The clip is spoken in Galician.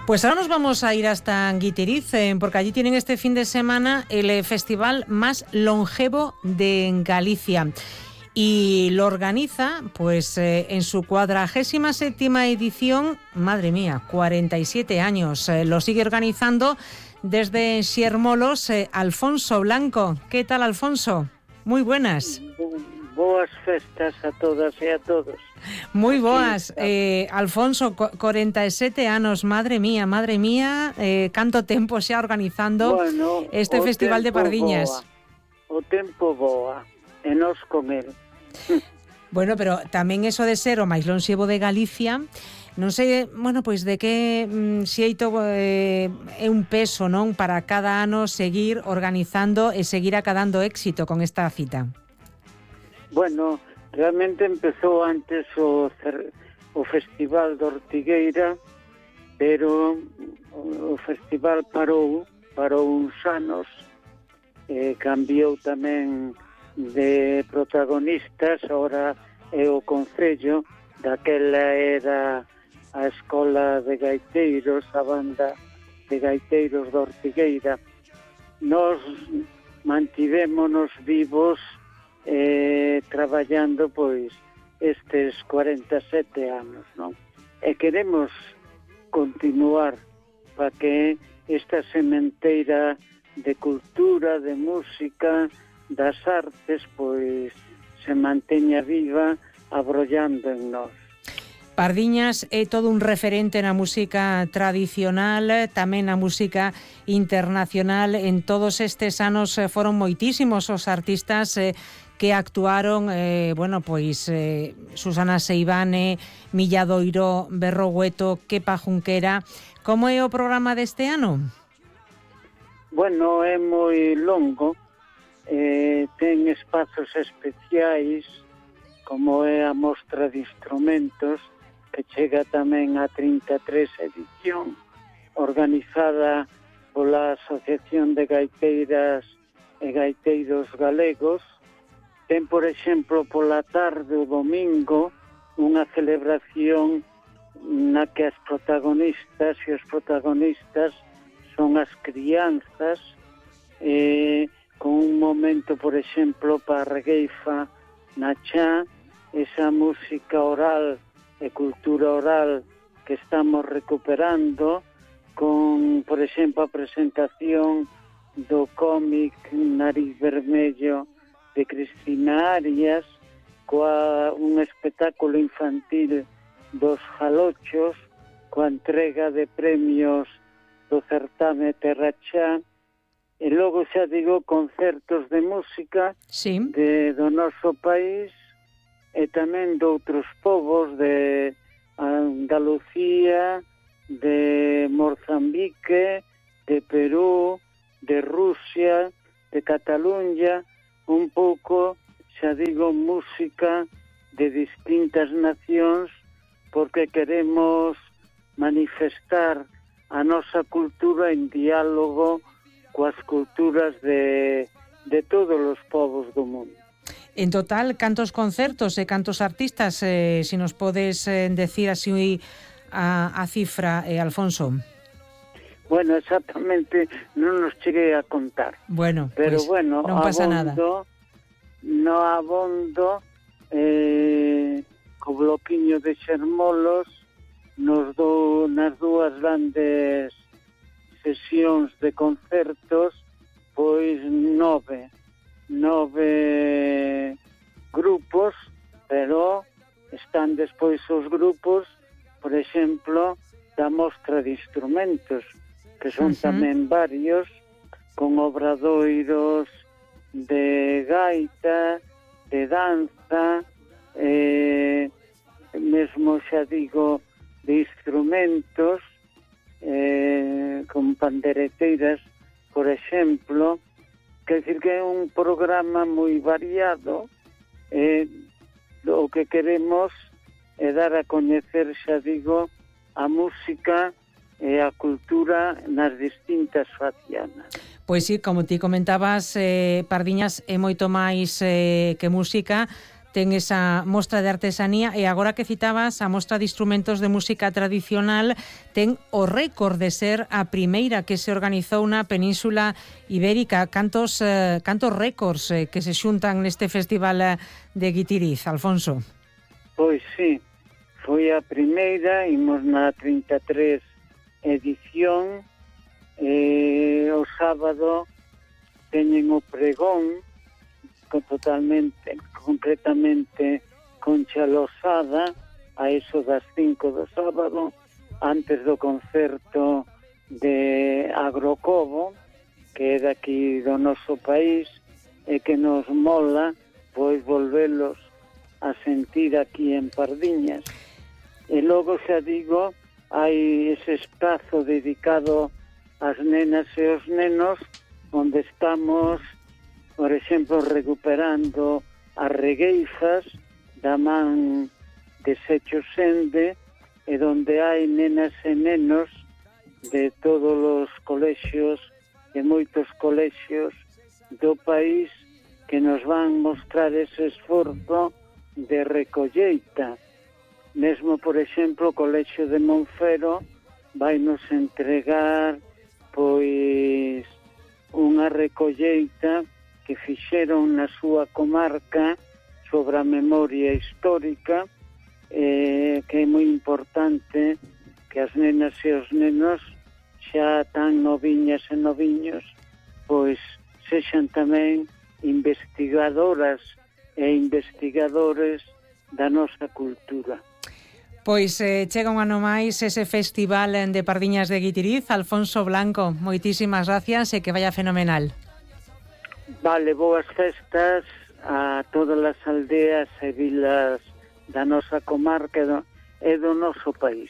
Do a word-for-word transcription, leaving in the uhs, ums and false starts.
Pues ahora nos vamos a ir hasta Guitiriz, eh, porque allí tienen este fin de semana el eh, festival más longevo de Galicia. Y lo organiza, pues, eh, en su cuadragésima séptima edición, madre mía, cuarenta y siete años. Eh, lo sigue organizando desde Xermolos, eh, Alfonso Blanco. ¿Qué tal, Alfonso? Muy buenas. Boas festas a todas e a todos. Moi boas, eh, Alfonso, cuarenta y siete anos, madre mía, madre mía, eh, canto tempo xa organizando bueno, este Festival de Pardiñas. Boa. O tempo boa, e nos con el. Bueno, pero tamén eso de ser o máis lonxevo de Galicia, non sei, bueno, pois de que mm, xeito eh, é un peso, non, para cada ano seguir organizando e seguir acadando éxito con esta cita. Bueno, realmente empezou antes o, o Festival de Ortigueira, pero o festival parou, parou uns anos, eh, cambiou tamén de protagonistas, ahora é o Concello, daquela era a Escola de Gaiteiros, a banda de gaiteiros de Ortigueira. Nos mantivémonos vivos Eh, traballando pois estes cuarenta e sete anos, non? E queremos continuar para que esta sementeira de cultura, de música, das artes, pois se manteña viva, abrollando en nós. Pardiñas é todo un referente na música tradicional, tamén na música internacional. En todos estes anos foron moitísimos os artistas eh, que actuaron, eh, bueno, pois eh, Susana Seivane, Milladoiro, Berrogueto, Kepa Junquera. Como é o programa deste ano? Bueno, é moi longo, eh, ten espazos especiais, como é a mostra de instrumentos, que chega tamén a trinta e tres edición, organizada pola Asociación de Gaiteiras e Gaiteiros Galegos. Ten, por exemplo, pola tarde o domingo unha celebración na que as protagonistas e os protagonistas son as crianzas, eh, con un momento, por exemplo, para a regueifa na Chá, esa música oral e cultura oral que estamos recuperando, con, por exemplo, a presentación do cómic Nariz Vermello de Cristina Arias, coa un espectáculo infantil dos Jalochos, coa entrega de premios do certame Terrachá, e logo xa digo concertos de música sí. de, do noso país e tamén de outros povos de Andalucía, de Mozambique, de Perú, de Rusia, de Cataluña, un pouco, xa digo, música de distintas nacións, porque queremos manifestar a nosa cultura en diálogo coas culturas de, de todos os povos do mundo. En total, cantos concertos e cantos artistas, eh, si nos podes eh, decir así a, a cifra, eh, Alfonso? Bueno, exactamente non nos cheguei a contar. Bueno, pero pues, bueno, non pasa abondo, nada. No abondo eh, co bloquiño de Xermolos nos do, nas dúas grandes sesións de concertos, pois nove nove grupos, pero están despois os grupos, por exemplo, da mostra de instrumentos, que son uh-huh. tamén varios, con obradoiros de gaita, de danza, eh, mesmo xa digo, de instrumentos, eh, con pandereteiras, por exemplo. Quer dizer que é un programa moi variado, eh, o que queremos é dar a coñecer, xa digo, a música e a cultura nas distintas facianas. Pois sí, como ti comentabas, eh, Pardiñas é moito máis eh, que música, ten esa mostra de artesanía, e agora que citabas a mostra de instrumentos de música tradicional, ten o récord de ser a primeira que se organizou na Península Ibérica. Cantos, eh, cantos récords eh, que se xuntan neste festival eh, de Guitiriz, Alfonso? Pois sí, foi a primeira, imos na trinta e tres edición, e o sábado teñen o pregón con totalmente, concretamente Concha Losada, a eso das cinco do sábado, antes do concerto de Agrocobo, que é daqui do noso país, e que nos mola pois volvelos a sentir aquí en Pardiñas. E logo, xa digo, hai ese espazo dedicado ás nenas e aos nenos, onde estamos, por exemplo, recuperando as regueifas da man de Secho Sende, e donde hai nenas e nenos de todos os colexios, de moitos colexios do país, que nos van mostrar ese esforzo de recolleita. Mesmo, por exemplo, o Colexio de Monfero vai nos entregar pois unha recolleita que fixeron na súa comarca sobre a memoria histórica, eh, que é moi importante que as nenas e os nenos xa tan noviñas e noviños pois sexan tamén investigadoras e investigadores da nosa cultura. Pois eh, chega un ano máis ese festival de Pardiñas de Guitiriz. Alfonso Blanco, moitísimas gracias e que vaya fenomenal. Vale, boas festas a todas as aldeas e vilas da nosa comarca e do, e do noso país.